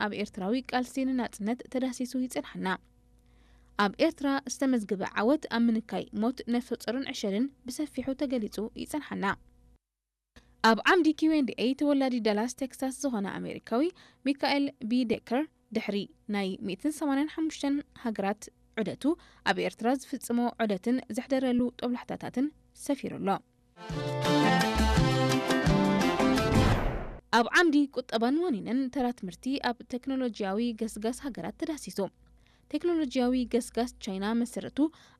ኣብ ኤርትራዊ ቃልሲ ንናጽነት ተዳሲሱ ይጸንሓና። ኣብ ኤርትራ ዝተመዝገበ ዓወት ኣብ ምንካይ ሞት ነፍሰ ጾርን ዕሸልን ብሰፊሑ ተገሊጹ ይጸንሓና። ኣብ ዓምዲ ኪው ኤንድ ኤ ተወላዲ ዳላስ ቴክሳስ ዝኾነ ኣሜሪካዊ ሚካኤል ቢ ዴከር ድሕሪ ናይ ሚእትን ሰማንያን ሓሙሽተን ሃገራት ዑደቱ ኣብ ኤርትራ ዝፍጽሞ ዑደትን ዘሕደረሉ ጦብላሕታታትን ሰፊሩ ኣሎ። ኣብ ዓምዲ ቁጠባን ዋኒንን ተራ ትምህርቲ ኣብ ቴክኖሎጂያዊ ገስጋስ ሃገራት ተዳሲሱ። ቴክኖሎጂያዊ ገስጋስ ቻይና መሰረቱ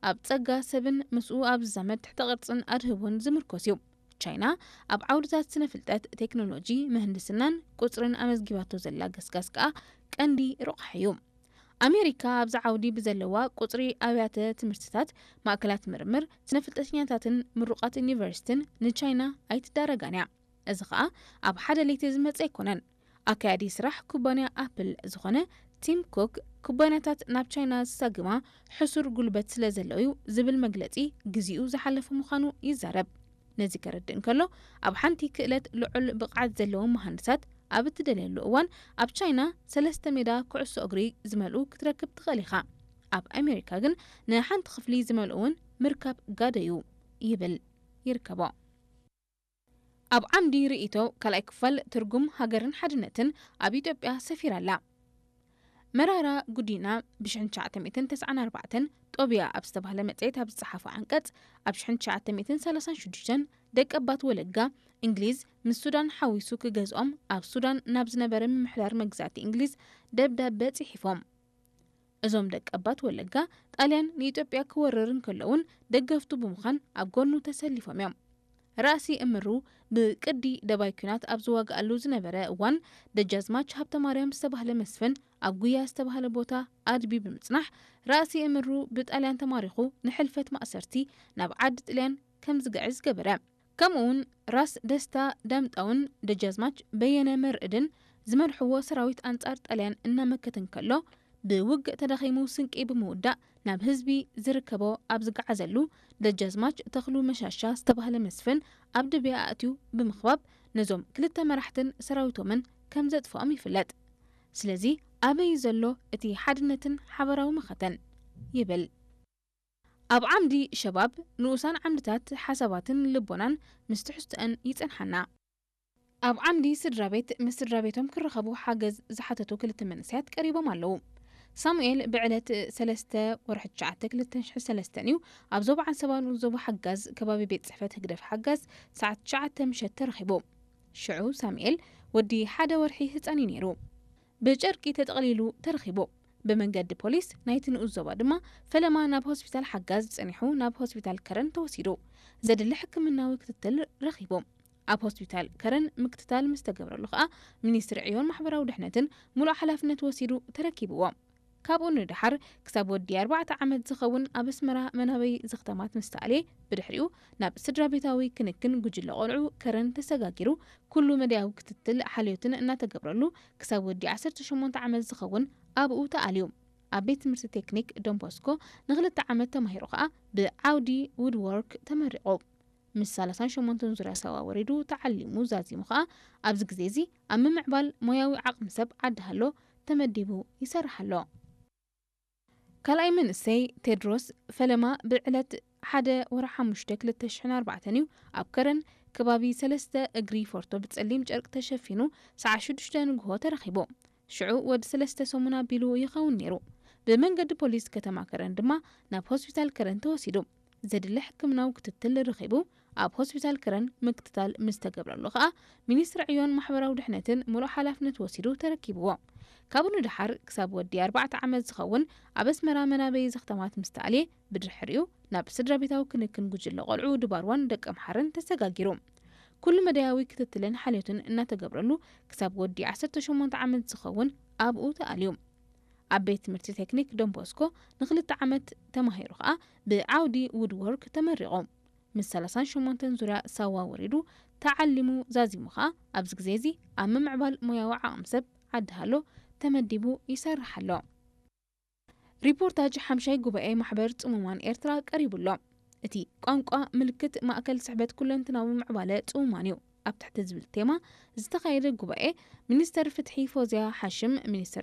ኣብ ጸጋ ሰብን ምስኡ ኣብ ዝዛመድ ትሕተ ቅርጽን ኣድህቦን ዝምርኮስ እዩ። ቻይና ኣብ ዓውድታት ስነ ፍልጠት፣ ቴክኖሎጂ፣ ምህንድስናን ቁጽርን ኣመዝጊባቶ ዘላ ገስጋስ ከኣ ቀንዲ ረቋሒ እዩ። ኣሜሪካ ኣብዚ ዓውዲ ብዘለዋ ቁጽሪ ኣብያተ ትምህርትታት፣ ማእከላት ምርምር፣ ስነ ፍልጠተኛታትን ምሩቓት ዩኒቨርሲቲን ንቻይና ኣይትዳረጋን እያ። እዚ ኸኣ ኣብ ሓደ ለይቲ ዝመጸ ኣይኮነን። ኣካያዲ ስራሕ ኩባንያ ኣፕል ዝኾነ ቲም ኩክ፣ ኩባንያታት ናብ ቻይና ዝሳግማ ሕሱር ጉልበት ስለ ዘለው'ዩ ዝብል መግለጺ ግዜኡ ዝሓለፈ ምዃኑ ይዛረብ። ነዚ ከረድእ እንከሎ፣ ኣብ ሓንቲ ክእለት ልዑል ብቕዓት ዘለዎም መሃንድሳት ኣብ እትደልየሉ እዋን፣ ኣብ ቻይና ሰለስተ ሜዳ ኩዕሶ እግሪ ዝመልኡ ክትረክብ ትኽእል ኢኻ። ኣብ ኣሜሪካ ግን ንሓንቲ ክፍሊ ዝመልኡ እውን ምርካብ ጋዶ እዩ ይብል ይርከቦ። ኣብ ዓምዲ ርእይቶ ካልኣይ ክፋል ትርጉም ሃገርን ሓድነትን ኣብ ኢትዮጵያ ሰፊራ ኣላ። መራራ ጉዲና ብ ሽሕን ትሽዓተ ሚእትን ተስዓን ኣርባዕተን ጦቢያ ኣብ ዝተባህለ መጽሔት ኣብ ዝጸሓፎ ዓንቀጽ፣ ኣብ ሽሕን ትሽዓተ ሚእትን ሰላሳን ሽዱሽተን ደቀባት ወለጋ እንግሊዝ ምስ ሱዳን ሓዊሱ ክገዝኦም ኣብ ሱዳን ናብ ዝነበረ ምምሕዳር መግዛእቲ እንግሊዝ ደብዳበ ጽሒፎም። እዞም ደቀባት ወለጋ ጣልያን ንኢትዮጵያ ክወርር እንከሎ እውን ደገፍቱ ብምዃን ኣብ ጎኑ ተሰሊፎም እዮም። ራእሲ እምሩ ብቅዲ ደባይ ኲናት ኣብ ዝዋግኣሉ ዝነበረ እዋን ደጃዝማች ሃብተማርያም ዝተባህለ መስፍን ኣብ ጉያ ዝተባህለ ቦታ ኣድቢ ብምጽናሕ ራእሲ እምሩ ብጣልያን ተማሪኹ ንሕልፈት ማእሰርቲ ናብ ዓዲ ጥልያን ከም ዝግዕዝ ገበረ። ከምኡውን ራስ ደስታ ዳምጣውን ደጃዝማች በየነ መርዕድን ዝመርሕዎ ሰራዊት ኣንጻር ጣልያን እናመከተ እንከሎ ብውግእ ተዳኺሙ ስንቂ ብምውዳእ ናብ ህዝቢ ዝርከቦ ኣብ ዝገዓዘሉ ደጃዝማች ተኽሉ መሻሻ ዝተባህለ መስፍን ኣብ ድብያ ኣእትዩ ብምኽባብ ነዞም ክልተ መራሕትን ሰራዊቶምን ከም ዘጥፍኦም ይፍለጥ። ስለዚ ኣበይ ዘሎ እቲ ሓድነትን ሓበራዊ መኸተን ይብል። ኣብ ዓምዲ ሸባብ ንኡሳን ዓምድታት ሓሳባትን ልቦናን ምስ ትሕዝቶአን ይጸንሓና። ኣብ ዓምዲ ስድራ ቤት ምስ ስድራ ቤቶም ክረኸቡ ሓገዝ ዝሓተቱ ክልተ መንእሰያት ቀሪቦም ኣለዉ። ሳሙኤል ብዕለት ሰለስተ ወርሒ ትሽዓተ ክልተ ሽሕን ሰለስተን እዩ ኣብ ዞባ ዓንሰባ ንኡስ ዞባ ሓጋዝ ከባቢ ቤት ጽሕፈት ህግደፍ ሓጋዝ ሰዓት ትሽዓተ ምሸት ተረኺቡ። ሽዑ ሳሙኤል ወዲ ሓደ ወርሒ ህጻን እዩ ነይሩ። ብጨርቂ ተጠቕሊሉ ተረኺቡ። ብመንገዲ ፖሊስ ናይቲ ንኡስ ዞባ ድማ ፈለማ ናብ ሆስፒታል ሓጋዝ ጸኒሑ ናብ ሆስፒታል ከረን ተወሲዱ። ዘድሊ ሕክምናዊ ክትትል ረኺቡ። ኣብ ሆስፒታል ከረን ምክትታል ምስ ተገብረሉ ከኣ ሚኒስትሪ ዕዮን ማሕበራዊ ድሕነትን ሙሉእ ሓላፍነት ወሲዱ ተረኪብዎ። ካብኡ ንደሓር ክሳብ ወዲ ኣርባዕተ ዓመት ዝኸውን ኣብ ኣስመራ መናበይ ዘኽተማት ምስ ተኣልየ ብድሕሪኡ ናብ ስድራ ቤታዊ ክንክን ጉጅለ ቆልዑ ከረን ተሰጋጊሩ ኩሉ መዳያዊ ክትትል ሓልዮትን እናተገብረሉ ክሳብ ወዲ ዓሰርተ ሸሞንተ ዓመት ዝኸውን ኣብኡ ተኣልዩ። ኣብ ቤት ትምህርቲ ቴክኒክ ዶንቦስኮ ንክልተ ዓመት ተማሂሩ ከኣ ብዓውዲ ውድዎርክ ተመሪቑ። ምስ ሰላሳን ሸሞንተን ዙርያ ሳዋ ወሪዱ ተዓሊሙ ዛዚሙ ከኣ ኣብዚ ግዜ እዚ ኣብ ምምዕባል ሞያዊ ዓቕሚ ሰብ ዓዲ ሃሎ ተመዲቡ ይሰርሕ ኣሎ። ካልኣይ መንእሰይ ቴድሮስ ፈለማ ብዕለት ሓደ ወርሒ ሓሙሽተ ክልተ ሽሕን ኣርባዕተን እዩ ኣብ ከረን ከባቢ ሰለስተ እግሪ ፎርቶ ብጸሊም ጨርቂ ተሸፊኑ ሰዓት ሽዱሽተ ንግሆ ተረኺቡ። ሽዑ ወዲ ሰለስተ ሰሙን ኣቢሉ ይኸውን ነይሩ። ብመንገዲ ፖሊስ ከተማ ከረን ድማ ናብ ሆስፒታል ከረን ተወሲዱ። ዘድሊ ሕክምናዊ ክትትል ረኺቡ ኣብ ሆስፒታል ከረን ምክትታል ምስ ተገብረሉ ከኣ ሚኒስትሪ ዕዮን ማሕበራዊ ድሕነትን ሙሉእ ሓላፍነት ወሲዱ ተረኪብዎ። ካብኡ ንደሓር ክሳብ ወዲ ኣርባዕተ ዓመት ዝኸውን ኣብ ኣስመራ መናበዪ ዘኽተማት ምስ ተኣልየ ብድሕሪኡ ናብ ስድራ ቤታዊ ክንክን ጉጅለ ቆልዑ ድባርዋን ደቀምሓረን ተሰጋጊሩ። ኩሉ መዳያዊ ክትትልን ሓልዮትን እናተገብረሉ ክሳብ ወዲ ዓሰርተ ሸሞንተ ዓመት ዝኸውን ኣብኡ ተኣልዩ። ኣብ ቤት ትምህርቲ ቴክኒክ ዶንቦስኮ ንክልተ ዓመት ተማሂሩ ከኣ ብዓውዲ ውድዎርክ ተመሪቑ። ምስ ሰላሳን ሸሞንተን ዙርያ ሳዋ ወሪዱ ተዓሊሙ ዛዚሙ ከኣ ኣብዚ ግዜ እዚ ኣብ ምምዕባል ሞያዊ ዓቕሚ ሰብ ዓዲ ሃሎ ተመዲቡ ይሰርሕ ኣሎ። ሪፖርታጅ ሓምሻይ ጉባኤ ማሕበር ጽሙማን ኤርትራ ቀሪቡ ኣሎ። እቲ ቋንቋ ምልክት ማእከል ስሕበት ኩለንትናዊ ምዕባለ ጽሙማን እዩ። ኣብ ትሕቲ ዝብል ቴማ ዝተኻየደ ጉባኤ፣ ሚኒስተር ፍትሒ ፎዝያ ሓሽም፣ ሚኒስተር